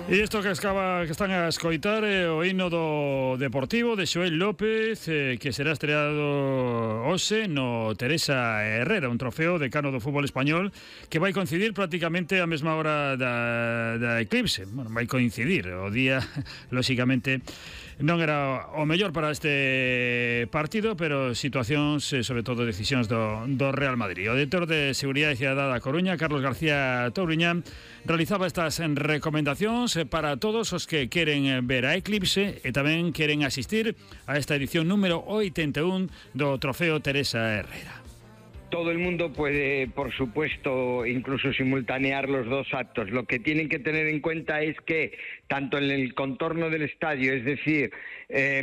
E isto que están a escoitar é o himno do Deportivo de Xoel López, que será estreado hoxe no Teresa Herrera, un trofeo de cano do fútbol español que vai coincidir prácticamente a mesma hora da Eclipse. Bueno, vai coincidir o día, lóxicamente non era o mellor para este partido, pero situacións, sobre todo decisións do Real Madrid. O director de Seguridade Cidadá da Coruña, Carlos García Touriñán, realizaba estas recomendacións para todos os que queren ver a Eclipse e tamén queren asistir a esta edición número 81 do Trofeo Teresa Herrera. Todo el mundo puede, por supuesto, incluso simultanear los dos actos. Lo que tienen que tener en cuenta es que tanto en el contorno del estadio, es decir,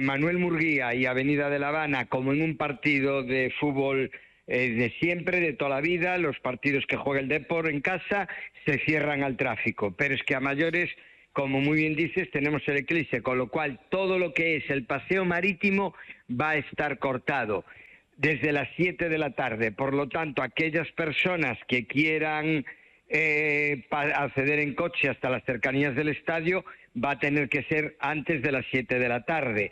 Manuel Murguía y Avenida de La Habana, como en un partido de fútbol de siempre, de toda la vida, los partidos que juega el Depor en casa se cierran al tráfico. Pero es que a mayores, como muy bien dices, tenemos el Eclipse, con lo cual todo lo que es el paseo marítimo va a estar cortado desde las 7 de la tarde. Por lo tanto, aquellas personas que quieran acceder en coche hasta las cercanías del estadio va a tener que ser antes de las 7 de la tarde.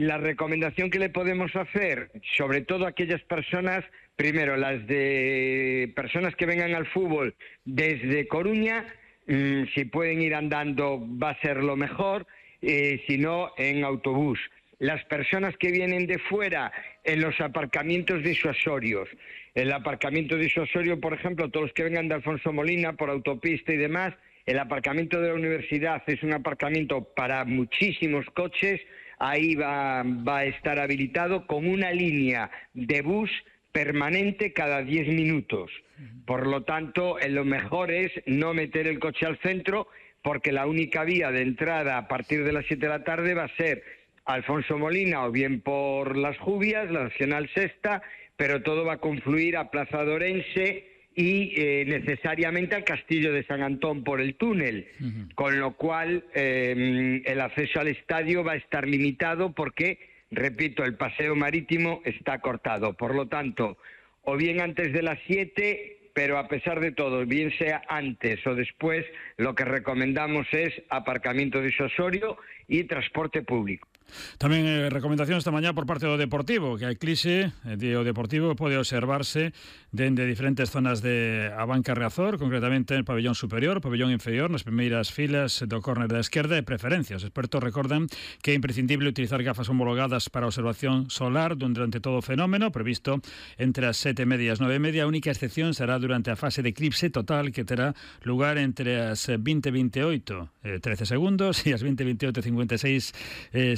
La recomendación que le podemos hacer, sobre todo a aquellas personas, primero las de personas que vengan al fútbol desde Coruña, si pueden ir andando va a ser lo mejor, si no en autobús. Las personas que vienen de fuera en los aparcamientos disuasorios. El aparcamiento disuasorio, por ejemplo, todos los que vengan de Alfonso Molina por autopista y demás, el aparcamiento de la universidad es un aparcamiento para muchísimos coches, ahí va a estar habilitado con una línea de bus permanente cada 10 minutos. Por lo tanto, lo mejor es no meter el coche al centro, porque la única vía de entrada a partir de las 7 de la tarde va a ser Alfonso Molina o bien por Las Jubias, la Nacional Sexta, pero todo va a confluir a Plaza de Orense y necesariamente al Castillo de San Antón por el túnel, con lo cual el acceso al estadio va a estar limitado porque, repito, el paseo marítimo está cortado. Por lo tanto, o bien antes de las 7, pero a pesar de todo, bien sea antes o después, lo que recomendamos es aparcamiento disuasorio y transporte público. Tamén recomendación esta mañá por parte do Deportivo, que a Eclipse o Deportivo pode observarse dende diferentes zonas de a banca Riazor, concretamente en pabellón superior, pabellón inferior, nas primeiras filas do córner da esquerda, e preferencia. Os expertos recordan que é imprescindible utilizar gafas homologadas para observación solar durante todo o fenómeno, previsto entre as 7:30 e as 9:30. A única excepción será durante a fase de eclipse total, que terá lugar entre as 20:28 13 segundos e as 20:28 56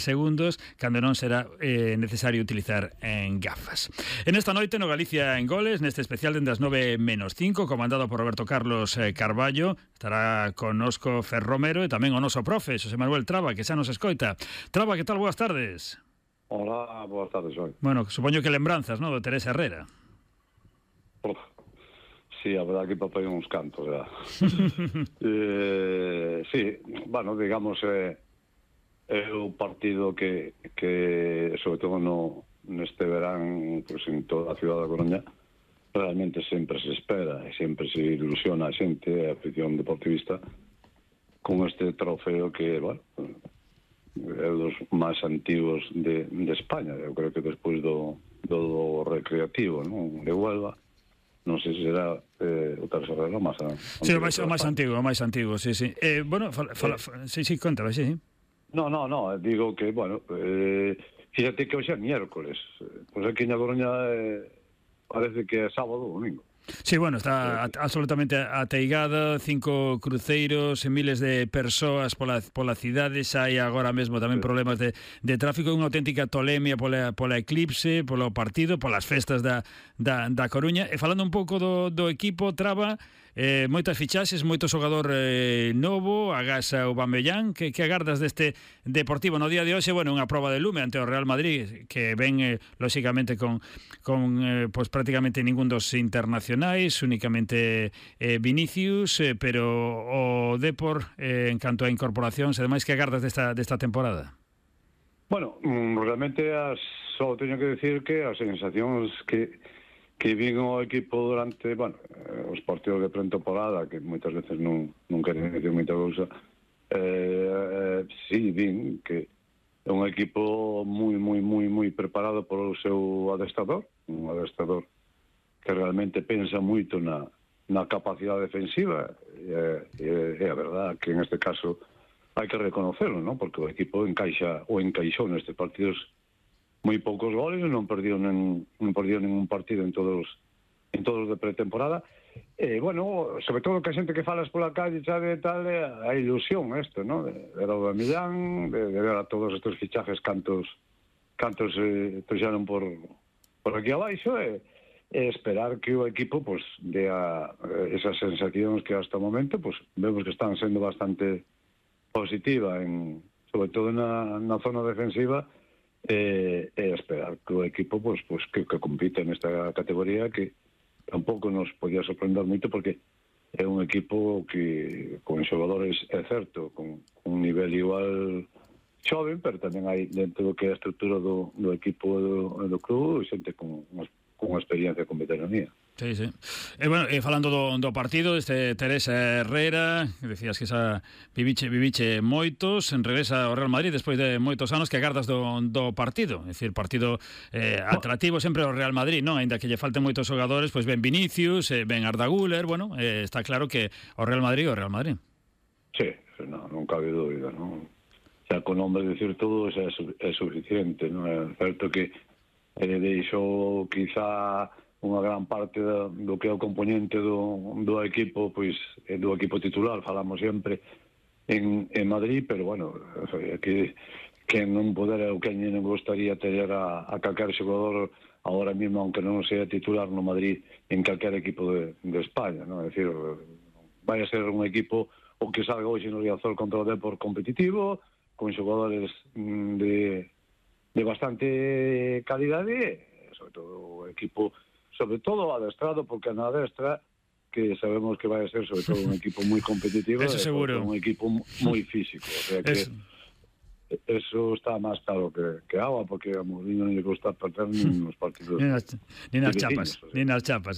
segundos, cando non será necesario utilizar en gafas. En esta noite no Galicia en Goles, neste especial dende as 9:05, comandado por Roberto Carlos Carballo, estará connosco Fer Romero e tamén o noso profe, Xosé Manuel Traba, que xa nos escoita. Traba, que tal? Boas tardes. Hola, boas tardes, hoy. Bueno, supoño que lembranzas, ¿no?, do Teresa Herrera. Sí, a verdad que papel uns cantos, verdad. Sí, bueno, digamos, é o partido que sobre todo neste verán, pues, en toda a ciudad da Coruña, realmente sempre se espera e sempre se ilusiona a xente, a afición deportivista, con este trofeo que, bueno, é dos máis antigos de España. Eu creo que despois do recreativo, non?, de Huelva, non sei se será o terceiro máis sí, o máis antigo, sí. Bueno, sí, conta, sí. No, digo que, bueno, fíjate que hoxe é miércoles, pois aquí na Coruña parece que é sábado ou domingo. Sí, bueno, está absolutamente ateigada, 5 cruceiros e miles de persoas pola cidade, xa hai agora mesmo tamén problemas de tráfico, unha auténtica tolemia pola eclipse, polo partido, polas festas da Coruña. E falando un pouco do equipo, Traba, moitas fichaxes, moito xogador novo, agás Aubameyang, que agardas deste Deportivo no día de hoxe? Bueno, unha proba de lume ante o Real Madrid, que ven, lóxicamente, con pues prácticamente ningún dos internacionais, únicamente Vinicius, pero o Depor, en canto a incorporacións, ademais, que agardas desta temporada? Bueno, realmente só teño que decir que as sensacións que vin o equipo durante, bueno, os partidos de pretemporada, que moitas veces non queren decir moita cousa, Sí, din que é un equipo moi preparado polo seu adestrador, un adestrador que realmente pensa moito na capacidade defensiva, e a verdad que en este caso hai que reconocerlo, ¿no? Porque o equipo encaixou nestes partidos moi poucos goles, non perdiu ningún partido en todos de pretemporada. Bueno, sobre todo que a xente que falas pola calle sabe tal, a ilusión isto, ¿no? De ver ao Millán, de ver a todos estes fichajes cantos trouxeron por aquí abaixo, e esperar que o equipo pues dea esas sensacións que hasta o momento pues vemos que están sendo bastante positiva, sobre todo na zona defensiva, e esperar que o equipo pues que compita nesta categoría, que tampouco nos podía sorprender moito, porque é un equipo que con xogadores, é certo, con un nivel igual xoven, pero tamén hai dentro do que é a estrutura do equipo do club xente con experiencia, con veteranía. Sí. Bueno, falando do partido, Teresa Herrera, decías que viviche moitos, regresa ao Real Madrid despois de moitos anos. Que agardas do partido? É dicir, partido atractivo sempre ao Real Madrid, non? Ainda que lle falten moitos xogadores, pois ben Vinicius, ben Arda Güler, bueno, está claro que o Real Madrid. Sí, non cabe dúbida, non? Xa con nombre de decir todo é suficiente, non? É certo que deixou quizá unha gran parte do que é o componente do equipo, pois do equipo titular, falamos sempre en Madrid, pero bueno, que non poder o que non gostaría ter a calquer xogador agora mesmo, aunque non sea titular no Madrid, en calquer equipo de España, non? É dicir, vai a ser un equipo o que salga hoxe no Riazor contra o Depor competitivo, con xogadores de bastante calidade, sobre todo o equipo, sobre todo adestrado, porque na adestra que sabemos que vai a ser sobre todo un equipo moi competitivo, eso seguro, un equipo moi físico, o sea que eso está máis claro que agua, porque a Mourinho non lle gusta perder nin nos partidos ni nas chapas,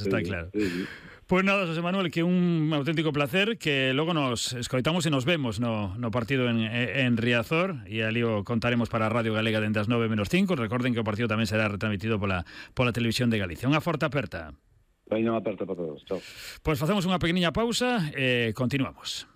está claro. Sí. Pues nada, José Manuel, que un auténtico placer, que logo nos escoitamos e nos vemos no partido en Riazor, e ali o contaremos para a Radio Galega dende as 9:05. Recorden que o partido tamén será retransmitido pola Televisión de Galicia. Unha forte aperta. Unha aperta para todos. Chao. Pois facemos unha pequeniña pausa e continuamos.